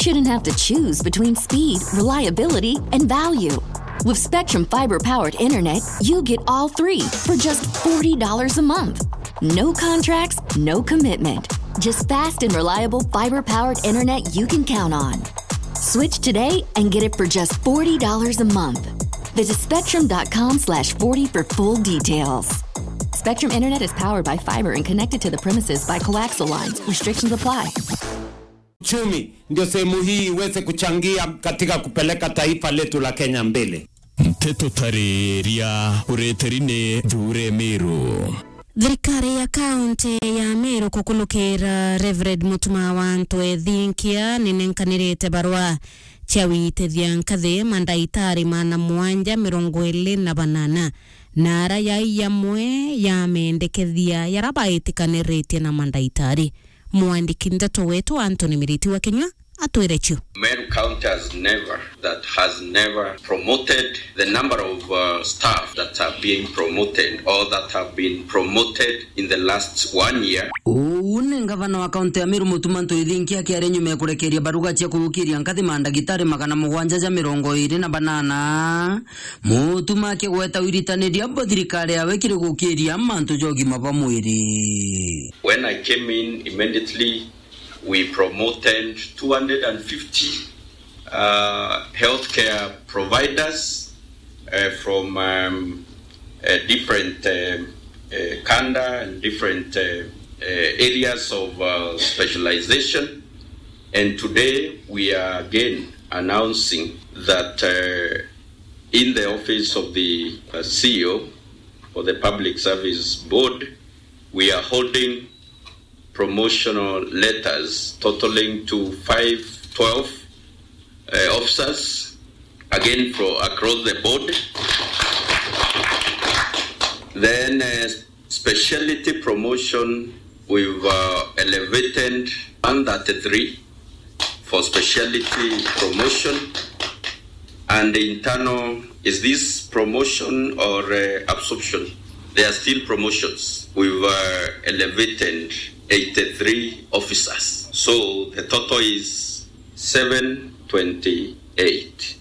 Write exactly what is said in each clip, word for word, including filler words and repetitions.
shouldn't have to choose between speed, reliability, and value. With Spectrum fiber powered internet, you get all three for just forty dollars a month. No contracts, no commitment. Just fast and reliable fiber powered internet you can count on. Switch today and get it for just forty dollars a month. Visit spectrum dot com slash forty for full details. Spectrum Internet is powered by fiber and connected to the premises by coaxial lines. Restrictions apply. Uchumi ndio sehemu hii iweze kuchangia katika kupeleka taifa letu la Kenya mbele. Nteto tariria ureteri ni Thure Miru. Thirikari ya kaunti ya Meru kukulukira Reverend Mutuma wa Antu Ethinkia ninenkanirite barua cia witithia nkathi mandaitari magana mugwanja mirongo iri na banana, na ara yai yamwe ya mendekethia yara baitikaniritie na mandaitari. Mwandiki ndeto wetu Anthony Miriti wa Kinyua atwire cio. Meru County has never, that has never promoted the number of, uh, staff that have been promoted or that have been promoted in the last one year. Uu ni ngavana wa kaunti ya Meru Mutuma Antu Ethinkia akiaria nyuma ya kurekeria baruga cia kugukiria nkathi mandagitari magana mugwanja ja mirongo iri na banana. Mutuma akigweta wiritaniria bo thirikari yawe kiri gukiria mantu ja ugima bwa mwiri. When I came in, immediately we promoted two hundred and fifty, uh, healthcare providers, uh, from, um, uh, different, um, uh, kanda and different, uh, uh, areas of, uh, specialization. And today we are again announcing that, uh, in the office of the, uh, C E O for the Public Service Board, we are holding promotional letters totaling to five twelve, uh, officers, again for across the board. Then, uh, speciality promotion, we've, uh, elevated one thirty-three for speciality promotion. And internal, is this promotion or, uh, absorption? They are still promotions. We've, uh, elevated eighty-three officers. So the total is seven twenty-eight.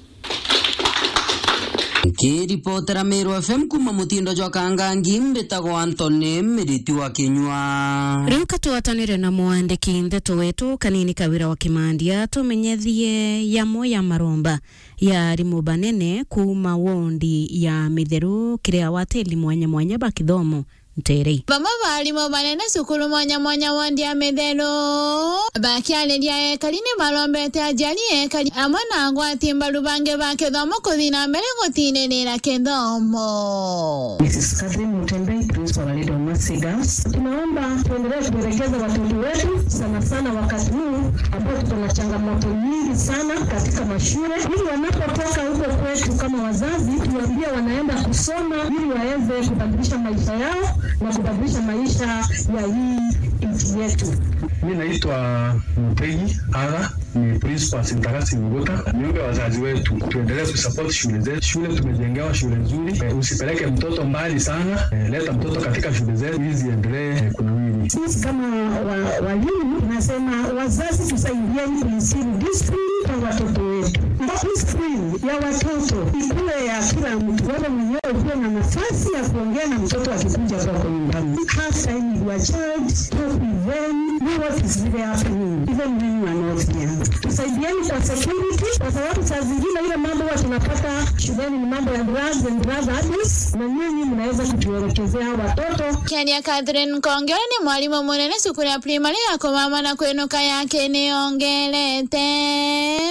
Nkiripotera Meru F M kuma mutindo jwa Kangangi, mbitagwa Anthony Miriti wa Kinyua. Riu ka twatanire na mwandiki ndeto wetu Kanini Kawira wa Kimandi atumenyethie yamwe ya maromba ya arimu banene kuuma wondi ya Mitheru kiri awatiri mwanya mwanya ba kithomo nterei. Bamwe ba arimu banene cukuru mwanya mwanya wondi ya Mitheru bakiariria ekari ni barombete aciari, ekari amwe na agwati mbaru bangi ba kithomo kuthi na mbere gutinirira kithomo. Missus Catherine Mutembei, principal wa Little Mercy Girls. Tunaomba tuendelee kuelekeza watoto wetu, sana sana wakati huu ambao tuko na changamoto nyingi sana katika mashule, ili wanapotoka huko kwetu kama wazazi, tuambie wanaenda kusoma ili waweze kubadilisha maisha yao na kubadilisha maisha ya hii nchi yetu. Mimi naitwa Mutegi Aga, ni principal Sintagasi Nyuguta. Niombe wazazi wetu tuendelee kusupport shule zetu. Shule tumejengewa shule nzuri. Eh, usipeleke mtoto mbali sana. Eh, leta mtoto katika shule zetu ili ziendelee, eh, kunawiri. Sisi kama wa-, walimu, nasema wazazi tusaidieni kuinstill discipline kwa watoto wetu. Discipline ya watoto ikuwe ya kila mtu. Wewe mwenyewe ukuwe na nafasi ya kuongea na mtoto akikuja kwako nyumbani. Have time with your child, talk with them, know what is really happening, even when you are not here. Tusaidieni kwa security, kwa sababu saa zingine ile mambo huwa tunapata shuleni ni mambo ya drugs and drug abuse, na nyinyi mnaweza kutuelekezea watoto. Kenya Catherine Nkonge ni mwalimu munene cukuru ya primary ya Kumama na Kwinuka ya Kiniongerete.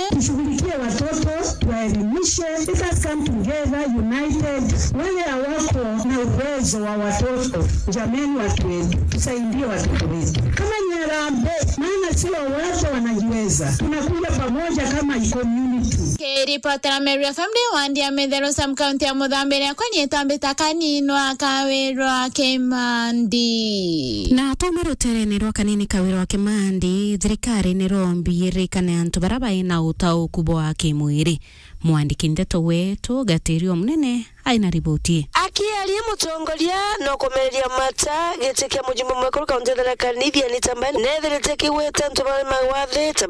Tushughulikie watoto, tuwaelimishe. Let us come together united. Wale hawako na uwezo wa watoto, jameni, watu wetu, tusaidie watoto wetu. Kama ni harambee, maana sio wote wanajiweza. Tunakuja pamoja kama community. Kiripotera Meru F M ndi wandi ya Mitheru, sub county ya Muthambiria, kwa nyitambita Kanini wa Kawirwa Kimandi. Na twauma ruterene rwa Kanini Kawirwa Kimandi, thirikari nirombi irikane antu bara bai na utauku bwa kimwiri. Mwandiki ndeto wetu Gatirio Munene aina riboti. Akiaria mutongoria na kumereria mata giti kia mujumbe mwekuru kaunti ya Tharaka Nithi, Anita Mbae, nethirite kigwete antu baria magwathite